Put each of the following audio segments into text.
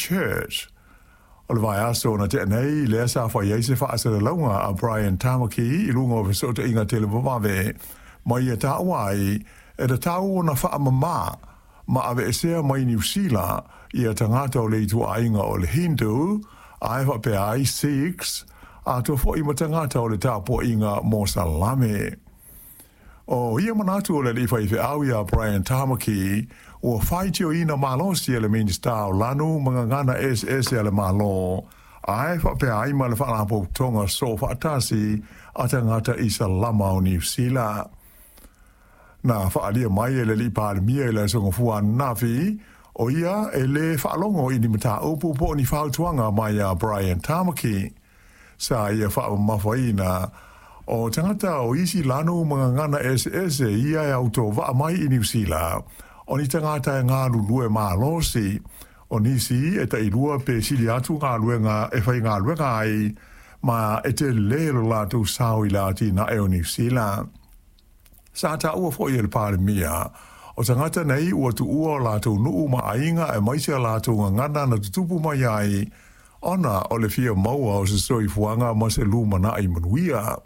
Church. O le vaiaso na tea nei, lea sa fai ai se faasalalauga a Brian Tamaki i luga o fesootaiga televavave, ma ia taua ai e tatau ona faamamā ma aveesea mai Niu Sila ia tagata o le ituaiga o le Hindu, ae faapea ai Sikhs, atoa foi ma tagata o le tapuaiga Mosalame. O ia manatu o le alii faifeau ia Brian Tamaki, ua faitioina malosi e le Minisita o Lanu ma Gagana Eseese a le Malo, ae faapea ai ma le Faalapotopotoga Soofaatasi a Tagata Isalama o Niu Sila. Na faaalia mai e le alii Palemia i le Aso Gafua ananafi, o ia e lē faalogo i ni mataupu po o ni fautuaga mai iā Brian Tamaki. Sa ia faamamafaina o tagata o isi lanu ma gagana eseese ia e autovaa mai i Niu Sila, o ni tagata e galulue malosi, o nisi e tailua pe sili atu galuega e faigaluega ai, ma e telē lo latou sao i le atinae o Niu Sila. Sa taua foi e le Palemia, o tagata nei ua tuua o latou nuu ma aiga aemaise a latou gagana na tutupu mai ai, ona o le fia maua o se soifuaga ma se lumanai manuia.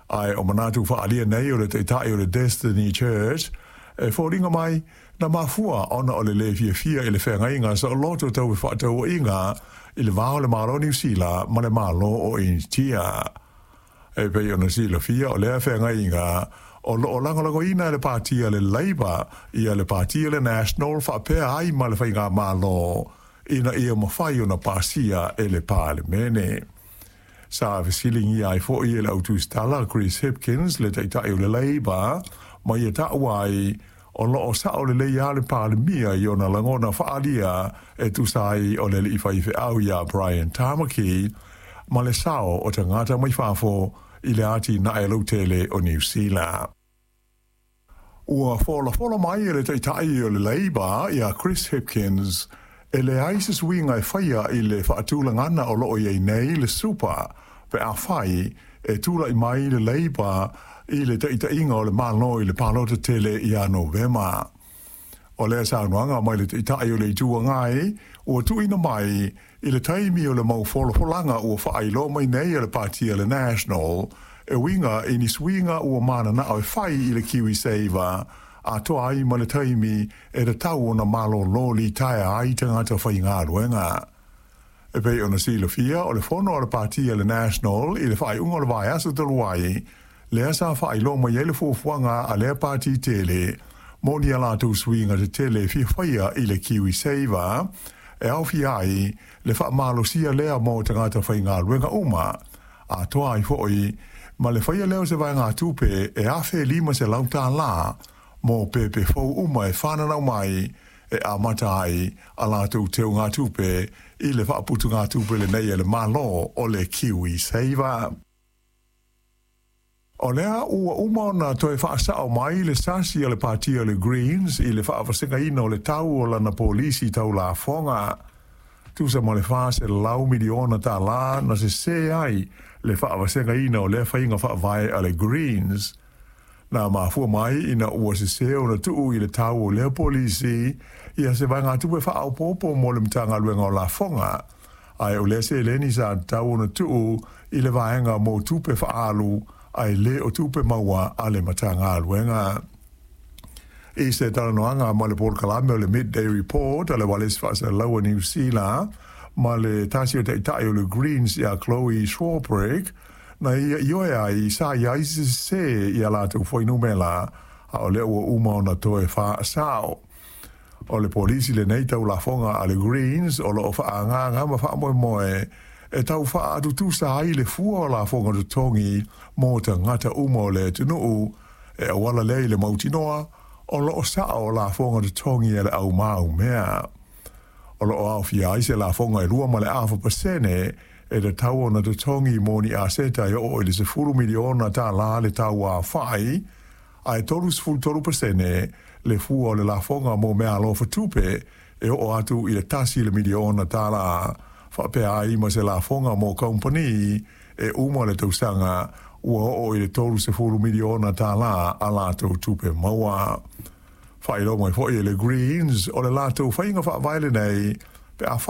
Ae o manatu faaalia nei o le Taitai o le Destiny Church, e foliga mai, na mafua ona o le lē fiafia i le feagaiga saoloto tau fefaatauaiga i le va o le Malo o Niu Sila ma le Malo o Initia. E pei ona silafia o lea feagaiga o lo o lagolagoina e le Pati a le Labour ia le Pati a le National faapea ai ma le Faigamalo ina ia mafai ona pasia e le Palemene. Sa fesiligia ai foi e le autusitala Chris Hipkins le Taitai o le Labour ma ia taua ai o lo o sao lelei lava le Palemia i ona lagona faaalia e tusa ai o le alii faifeau ia Brian Tamaki ma le sao o tagata mai fafo i le atinae lautele o Niu Sila. Ua folafola mai e le Taitai o le Labour ia Chris Hipkins e leai se suiga e faia i le faatulagana o lo o i ai nei le Super pe afai e tulai mai le Labour i le taitaiga o le Malo i le palota tele ia Novema. O lea saunoaga mai le Taitai o le Itu Agai ua tuuina mai i le taimi o le mau folafolaga ua faailoa mai nei e le Pati a le National e uiga i ni suiga ua mananao e fai i le KiwiSaver atoa ai ma le taimi e tatau ona malolo litaea ai tagata faigaluega. E pei ona silafia, o le fono a le Pati a le National i le faaiuga o le vaiaso talu ai, lea sa faailoa mai ai le fuafuaga a lea pati tele mo ni a latou suiga tetele e fia faia i le KiwiSaver, e aofia ai le faamalosia lea mo tagata faigaluega uma, atoa ai foi ma le faia lea o se vaegatupe e $1,500 mo pepe fou uma e fananau mai e amata ai a latou teugatupe i le faaputugatupe lenei a le Malo o le KiwiSaver. O lea ua uma ona toe faasao mai le sasi a le Pati a le Greens i le faavasegaina o le tau o lana polisi tau lafoga. Tusa ma le $400 miliona tala na sesē ai le faavasegaina o lea faiga faavae a le Greens. Na mafua mai ina ua sesē ona tuu i le tau o lea polisi ia se vaegatupe faaopoopo mo le Matagaluega o Lafoga, ae o lea seleni sa tatau ona tuu i le vaega mo tupe faaalu ae le o tupe maua a le Matagaluega. I se talanoaga ma le polokalame o le Midday Report a le Ualesi Faasalalau a Niu Sila ma le tasi o taitai o le Greens ia Chloe Swarbrick, na ia ioe ai sa i ai se sesē i a latou fuainumera, a o lea ua uma ona toe faasao. O le polisi lenei tau lafoga a le Greens o lo o faaagaaga ma faamoemoe e tau faatutusa ai le fua o lafoga totogi mo tagata uma o le atunuu, e auala lea i le mautinoa o lo o sao lafoga totogi a le au maumea. O lo o aofia ai se lafoga e 2.5% e tatau ona totogi mo ni aseta e oo i le $10 miliona le tau aofai, ae 33% le fua o le lafoga mo meaalofa tupe e oo atu i le $1 miliona, faapea ai ma se lafoga mo kamupani e uma le tausaga ua oo i le $30 miliona a latou tupe maua. Faailoa mai foi e le Greens o le latou faiga faavae lenei pe afai